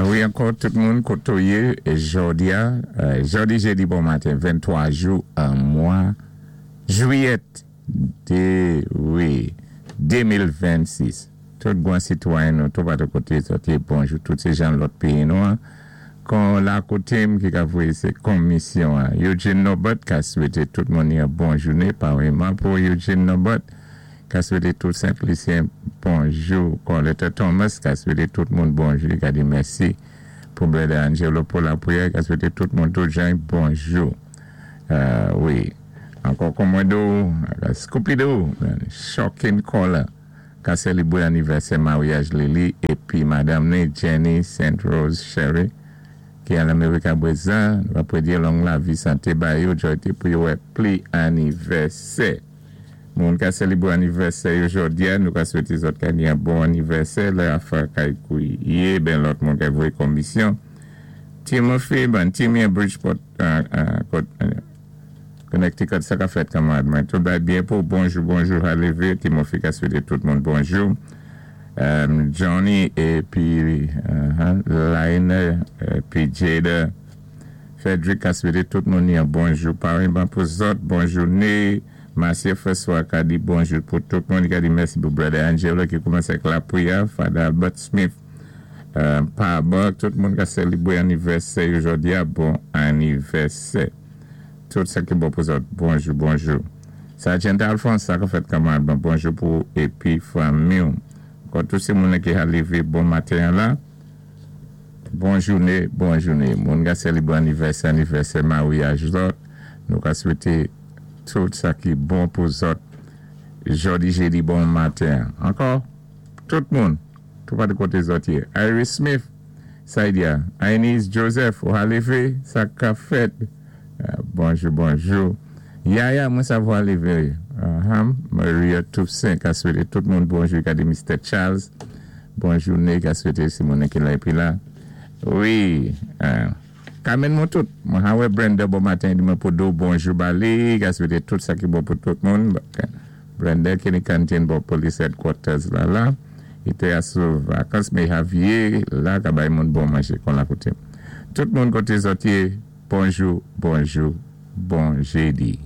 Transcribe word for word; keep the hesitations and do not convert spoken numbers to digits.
Wi, ankò tout moun koto yé, jòdi a, jòdi jédi bon maten, venntwa jou an mwa jwiyèt dé, wi, de mil vennsis. Tout gwan sitwayen nou, tout patou koté zòt yé, bonjou, tout sé jan lòt péyi nou an. Kon la koté m ki ka voyé sé komisyon an. Eugene Norbert ka swété tout moun yon bon jouné, paréyman pou Eugene Norbert, ka swété tout Sent-Lisyen bonjou. Coletta Thomas ka swété tout moun bonjou, ka di mèsi pou Brother Angelo pou lapriyè, ka swété tout moun tout jan bonjou. Euh, wi. Ankò Komodo, Scooby-Doo, Shocking Caller, ka sélébwé anivèsè maryaj Lily épi madanm ni Jenny Saint Rose Sherry ki an Lamérik apwézan, nou va di long lavi, santé ba yo, jòyté pou yo wè pli anivèsè. Moun ka sélébwé anivèsè jòdi a, nou ka swété zòt ka ni yon bon anivèsè, lè afè kay kouye, ben lòt moun ka voyé komisyon. Timothy, ben Timmy Bridgeport, euh, euh, euh, Connecticut, sa ka fèt kanmarad mwen. Tout bay byen pou bonjou, bonjou, alévé. Timothy ka swété tout moun bonjou. Um, Johnny épi uh, Lionel épi Jada Frederick ka swété tout moun yon bonjou. Paréyman pou zòt, bon jouné. Marcia François ka di bonjou pou tout moun. Ka di mèsi pou Brother Angelo ki koumansé ak lapriyè. Father Albert Smith. Euh, pa tout moun ka sélébwé anivèsè jòdi a, bon anivèsè. Tout sa ki bon pou zòt, bonjou, bonjou. Sergeant Alphonse, sa ka fèt kanmarad, bon, bonjou pou épi fanmi. Kon tout sé moun ki a lévé bon maten la, bon jouné, bon jouné. Moun ka sélébwé anivèsè, anivèsè maryaj zòt, nou ka swété tout sa ki bon pou zòt. Jòdi, jédi, bon maten. Ankò, tout moun, tout pa de koté zòt yé. Iris Smith, Saidia, Inez Joseph, ou lévé, sa ka fèt. Euh, bonjou, bonjou. Yaya, mwen savwa lévé. Uh-huh. Maria Toussaint, ka swété tout moun bonjou. Ka di Mister Charles, bon jouné, ka swété Simone ki la épi la. Wi, euh, Carmen mwen tout. Mwen ha wè Brenda bon maten, di mwen pou do bonjou ba li, ka swété tout sa ki bon pou tout moun. Brenda ki ni kantin bò police headquarters la la. I té asou vakans, mé Javier la ka bay moun bon manjé kon la koté. Tout moun koté zòt yé, bonjou, bonjou, bon jédi.